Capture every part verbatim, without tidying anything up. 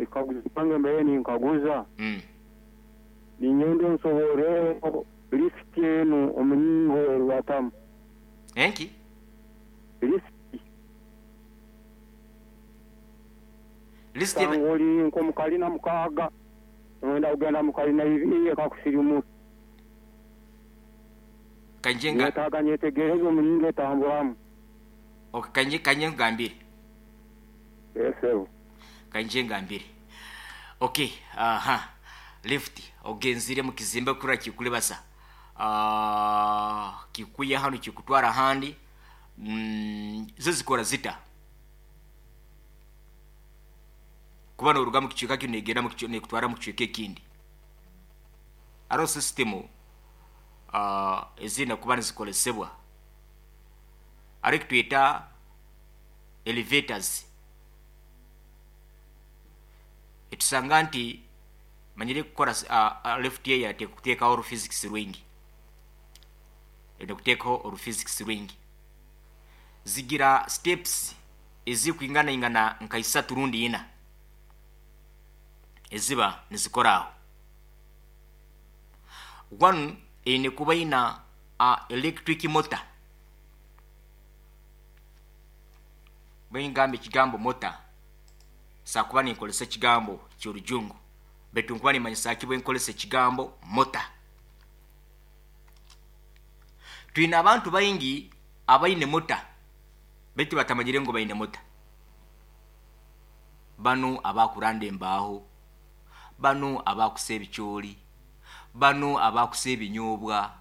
Ekikaguzo kyange mbaire ninkaguza. Mm. Ninyenda nsobore lift enu omulingo erubatamu. Enki? Lift. List Sanga oli nk'omukalina mukaaga noyenda kugenda mukalina ibiri ekakusirimura. Kanje nga Nyetaaga nyetegereze omulingo etamburamu. Okay, kanje kanje ngambire. Esebo. Kanje ngambire. Okay, aha. Lift ogenzire mu kizimbe kura kikulebasa. Ah, kikuya hano kikutwara handi. Mm, zo zikora zita. Kuba noruga mu kicweka kino negenda mu kicweka nekutwara mu kicweka ekindi. Aro system uh, ezina kuba nizikolesebwa. Ari kitwita elevators. Etusanga nti manyire kukora uh, uh, lift ye yate kuteekaho oruphysics rwingi. Ene kuteekaho oruphysics rwingi. Zigira steps ezikwingana ingana nka isatu rundi ina. Eziba nizikora aho. One eine kuba ina uh, electric motor. Bwe ngamba ekigambo motor sakuba ninkolesa ekigambo ky'orujungu baitu nkuba nimanyisa ki bwe nkolesa ekigambo motor. Twine abantu baingi abaine motor baitu batamanyire ngu baine motor. Bano abakuranda embaaho, bano abakusa ebicoori, bano abakusa ebinyobwa,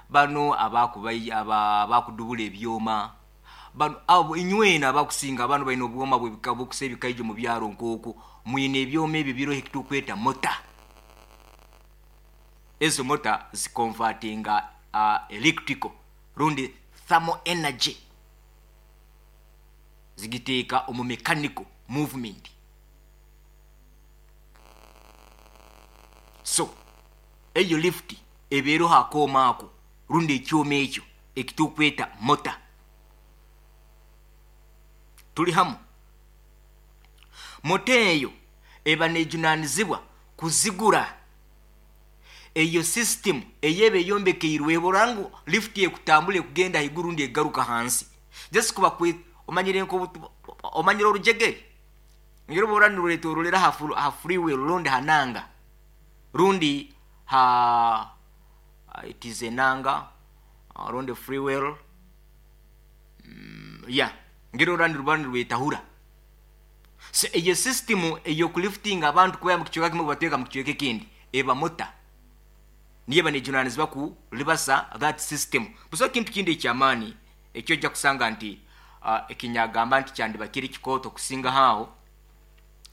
bano abakubai aba abakudubula ebyoma, bano abo inywena abakusinga bano baine obwoma bw'ebika bw'okusa ebikaijo mu byaro nk'okwo mwine ebyoma ebyo biroho ekitukweta motor. Ezo motor ziconvertinga uh, electrical rundi thermal energy zigiteeka omu mechanical movement. So eyo lift ebeeroho akooma ako rundi ekyoma ekyo ekitukweta motor. Tuli hamu. Moto eyo eba nejunanizibwa kuzigura eyo system eyeba eyombekeirwe ngu lift ekutambula ekugenda haiguru rundi egaruka hansi. Just kuba kwe omanyire nko omanyire orujegere ngero bora niruretorolera ha, ha freeway rundi hananga rundi ha it is enanga rundi freeway mm, yeah ngero randi rubani rwetahura. So eyo system eyo kulifting abantu kuba mu kichweka kimwe bateka mu kichweka ekindi eba mota niye banejunanizibwa ku libasa that system. Buso kintu kindi ekyamaani ekyo ojja kusanga nti uh, ekinyagamba nti kyandiba kiri kikooto kusinga haawo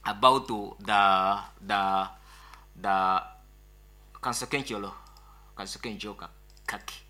about the the the kansoke nkyolo kansoke njoka kaki.